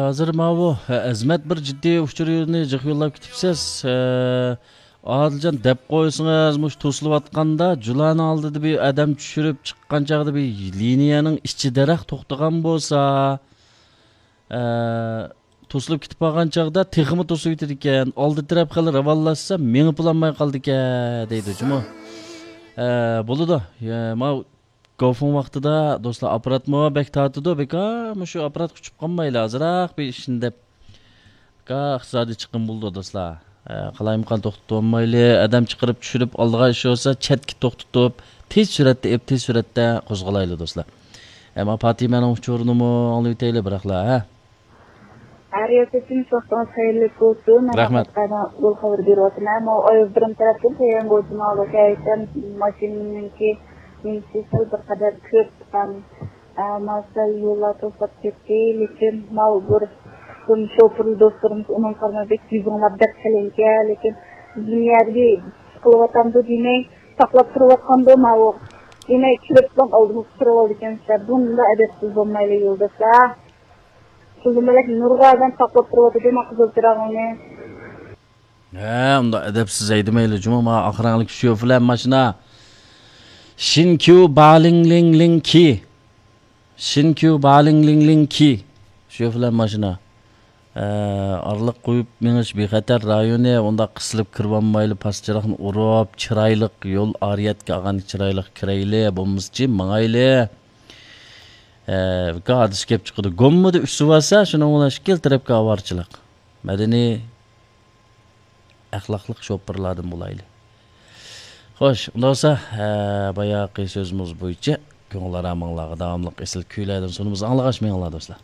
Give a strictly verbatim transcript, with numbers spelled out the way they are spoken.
ھازىر ماۋۇ، ھە، ئەزمەت بىر جىددىي ئۇچۇرنى جىق يوللاپ كېتىپسىز. ھە، ئادىلجان دەپ قويسىڭىز، مۇشۇ توسۇلۇۋاتقاندا جۇلانىڭ ئالدىدا بىر ئادەم چۈشۈرۈپ چىققان چاغدا بىر لىنىيەنىڭ ئىچىدىراق توختىغان بولسا، ھە، توسۇلۇپ كېتىپ قالغان چاغدا تېخىمۇ توسۇۋېتىدىكەن. ئالدى تەرەپ خېلى راۋانلاشسا مېڭىپ بولالماي قالدىكەن دەيدۇ جۇمۇ. ھە، بولىدۇ. ھە، ماۋۇ گاۋفېڭ ۋاقتىدا دوستلار ئاپپاراتمۇ بەك تارتىدۇ، بىكار مۇشۇ ئاپپاراتقا ئۇچۇپ قالمايلى، ئازراق بىر ئىشنى دەپ. بىكار ئىقتىسادىي چىقىم بولىدۇ دوستلار. ئە، قالايمىقان توختىتىۋالمايلى، ئادەم چىقىرىپ چۈشۈرۈپ ئالدىغان ئىش بولسا چەتكە توختىتىپ، تېز سۈرئەتتە ئېپ، تېز سۈرئەتتە قوزغىلايلى دوستلار. ئەمما پاتىمەنىڭ ئۇچۇرىنىمۇ ئاڭلىۋېتەيلى بىراقلا، ھە؟ ھەر يەردىن ۋاقتىڭىز خەيرلىك بولسۇن. رەھمەت. مەن يول خەۋىرى بېرىۋاتىمەن. ماۋۇ ئايال بىرىم تەرەپتىن تەييارلىق بولسۇن. ماۋۇ ھەقىقەتەن ماشىنىنىڭكى نېمىسى سەل بىر قەدەر كۆپ چىققان. ئە، ماۋۇ سەل يوللار توسۇلۇپ كەتتى. لېكىن ماۋۇ بىر قىسىم شوپۇر دوستلىرىمىز ئۇنىڭ قارىماي بەك يۈزۈڭلار بەك قېلىنكەن. لېكىن بىزنىڭ يەردە قىلىۋاتامدۇ دېمەي، ساقلاپ تۇرۇۋاتقاندۇ ماۋۇ. دېمەي، كېلىپلا ئالدىمىزغا تۇرۇۋالىدىكەنسىلەر. بۇنداق ئەدەپسىز بولمايلى يولداشلار. قىزىملىك نۇرغۇن ئادەم ساقلاپ تۇرۇۋاتىدۇ ما قىزىل چىراغىڭنى. ھە، ئۇنداق ئەدەپسىز ھەيدىمەيلى جۇمۇ، ما ئاق رەڭلىك شوفىرلار ماشىنا. شىنكيۇ بالىڭلىڭلىڭكى. شىنكيۇ بالىڭلىڭلىڭكى. شوفىرلار ماشىنا. ھە، ئارىلىق قويۇپ مېڭىش بىخەتەر رايونى، ئۇنداق قىسىلىپ كىرىۋالمايلى، پاس چىراغنى ئۇرۇپ، چىرايلىق يول ئارىيەتكە ئالغان چىرايلىق كىرەيلى، بولمىسىچە ماڭايلى. ھە، ھادىسە كەپ چىقىدۇ. گوممىدا ئۈسۈۋالسا، شۇنىڭ بىلەن ئىككىلا تەرەپكە ئاۋارىچىلىق. مەدەنىي ئەخلاقلىق شوپۇرلاردىن بولايلى. خوش، ئۇنداق بولسا، ھە، باياقى سۆزىمىز بويىچە كۆڭۈل ئارامىڭلارغا داۋاملىق ئېسىل كۈيلەردىن سۇنىمىز، ئاڭلىغاچ مېڭىڭلار دوستلار.